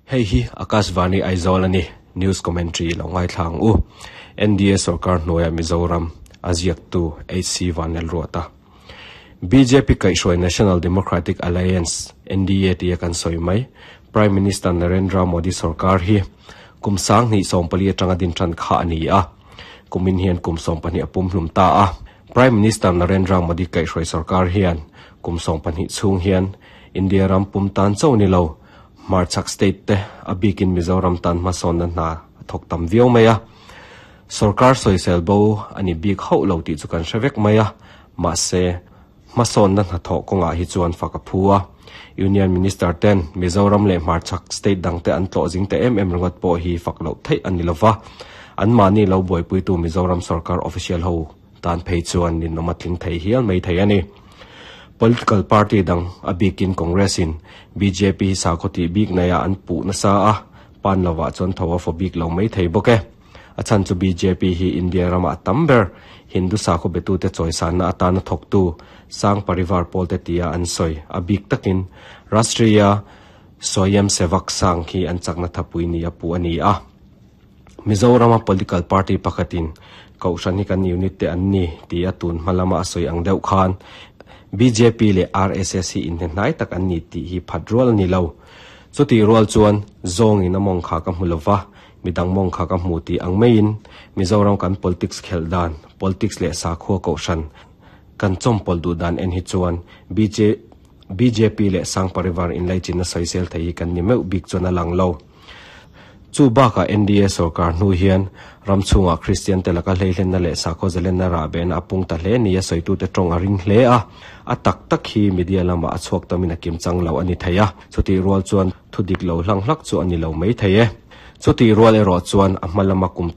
Hei hi Akashvani Aizawl a ni. News commentary lo ngaithla ang u. NDA sorkar hnuaia Mizoram a ziaktu HC Vanlalruata. Bjp kaihhruai National Democratic Alliance, NDA tia kan sawi mai, Prime Minister Narendra Modi sorkar hi kum 2014 atanga din tan kha a ni a. Kumin hian kum 12 a pumhlum ta a. Prime Minister Narendra Modi kaihhruai sorkar hian kum 12 chhung hian India ram pum tan chauh ni lo, Hmarchhak state te a bikin Mizoram tan hmasawnna hna a thawk tam viau mai a. Sorkar sawisel bo a ni bik hauh lo tih chu kan hre vek mai a, mahse, hmasawnna hnathawh kawngah hi chuan fak a phu a. Union Minister ten Mizoram leh Hmarchhak state dangte an tlawh zing ta em em ringawt pawh hi fak loh theih a ni lova, anmahni lo buaipuitu Mizoram sorkar official ho tan phei chuan ninawm a tling thei hial mai thei a ni. Political party dang, a bikin Congress-in bjp hi sakhaw tih bik naiah an puh nasa a, pan lovah chuan tho a faw bik lo mai thei bawk e. A chhan chu bjp hi India ramah a tam ber, Hindu sakhaw betute chawisanna atana thawktu Sangh Parivar pawlte tia an sawi, a bik takin Rashtriya Swayamsevak Sangh hi an chakna thapui nia puh a ni a. Mizorama political party pakhatin Kohhran hi kan unit te an ni ti a tun hma lama a sawi ang deuh khan bjp leh RSS hi inhnehnai tak an ni tih hi phat rual a ni lo. Chutih rual chuan zawngin a mawng kha ka hmu lova, midang mawng kha ka hmu tih ang maiin Mizoram kan politics khelh dan, politics leh sakhua Kohhran kan chawmpawlh duh dan en hi chuan bjp leh Sangh Parivar inlaichinna sawisel thei hi kan ni meuh bik chuan a lang lo. Chu bakah NDA sorkar hnu hian ram chhungah Kristian te laka hleihlenna leh sakhaw zalenna rahbehna a pung ta hle nia sawitute tawng a ring hle a. A tak tak hi media lamah a chhuak tamin a kim chang lo a ni thei a, chutih rual chuan thu dik lo hlang hlak chu a ni lo mai thei e. Chutih rual erawh chuan a hma lama kum.